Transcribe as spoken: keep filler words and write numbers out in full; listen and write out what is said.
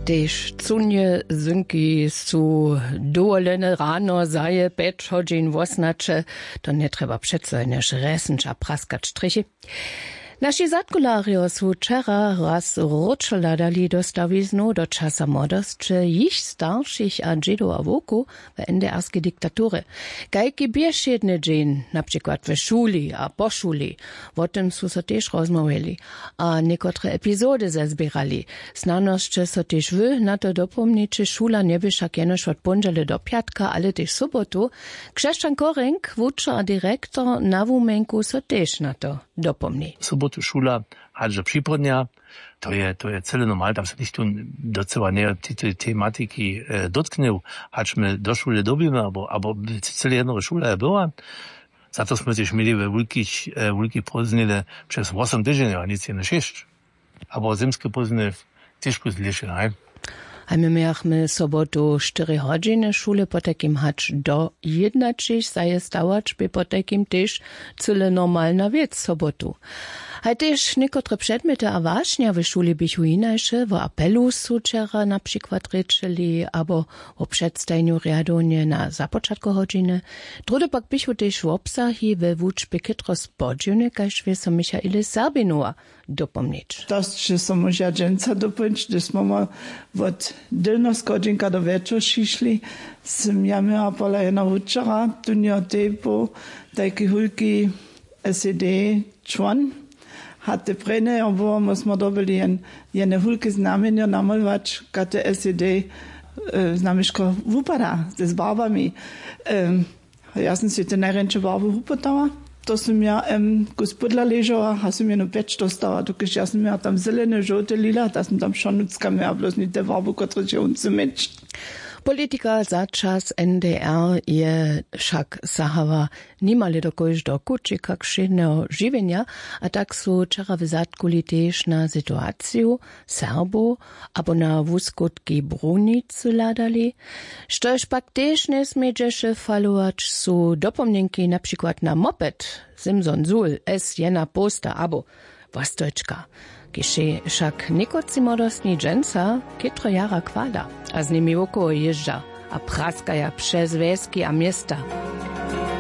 Tež cunje zynki su dowolene rano zaje pjeć hodźin wosnaće. To njetrjeba přeco jenož resnča praskać strychi. Naši zadkularjo su wčera raz wróćo hladali do stawiznow do časa młodosće jich staršich a dźědow a wowkow w ndrskej diktaturje. Kajki běšědny dźeń na přikład w šuli a po šuli? Wo tym su so tež rozmołwjeli a někotre epizody zazběrali. Snano sće so tež wy na to dopomniće šula njebě wšak jenož wot póndźele do pjatka ale tež sobotu. Křesćan korenk wučer a direktor na wuměnku so tež na to dopomni. Sobotu šula hač do připołdnja. To je to je cyle normal tam se nichtó docyła njeje tej tematiki dotknył. Hač my do šule dyrbimy abo abo cyle jednoho šula je była. Za to smy tež měli we wulkich wulkich prózdniny přez wosom tydźenjow a nic jenož šěsć. Abo zymske pózdniny tež plus dlěše haj. Haj my mějachmy sobotu štyri hodźiny šule potajkim hač do jědnaćich zaje stawać bě potajkim tež cyle normalna wěc sobotu. Haj tež někotre předmjety a wašnja w šuli běchu hinaše wo apelu su wčera na přikład rěčeli abo wo předstajenju rjadownje na započatku hodźiny. Druhdy pak běchu tež wobsahi we wučbje chětro spodźiwne kaž wě so michaele serbinowa dopomnić. To sće so móža dźensa dopomnić hdyž smy wot dylnoschodźenka do wječor šišli. Sym ja měła pola jeno wučera tunjo tej poł tajki hólki sed čłon. Hatte prejnjejo było my smy dobyli jene hólke znamjenjo namolować kaž te sed znamješko wupada z barbami. Ja sym sej te najrjeńše barby wupytała. To sym ja em kus pódla ležała a sym jeno pjeć dostała dokelž ja sym ja tam zeleny žołty lila da sym tam wšo nutřka měła blós něte barby kotrež je wón chce měć. Politika za čas ndr je wšak sahała nimale do kóždeho kućika wšědneho žiwjenja. A tak su wčera w zadkuli tež na situaciju serbow abo na wuskutki brunicy hladali. Štož pak tež njesmědźeše falować su dopomnjenki na přikład na moped simson sul s jedna połsta abo wostojčka, kiž je wšak někotři młodostni dźensa chětro jara chwala a z nimi wokoło jězdźa a praskaja přez wjeski a města.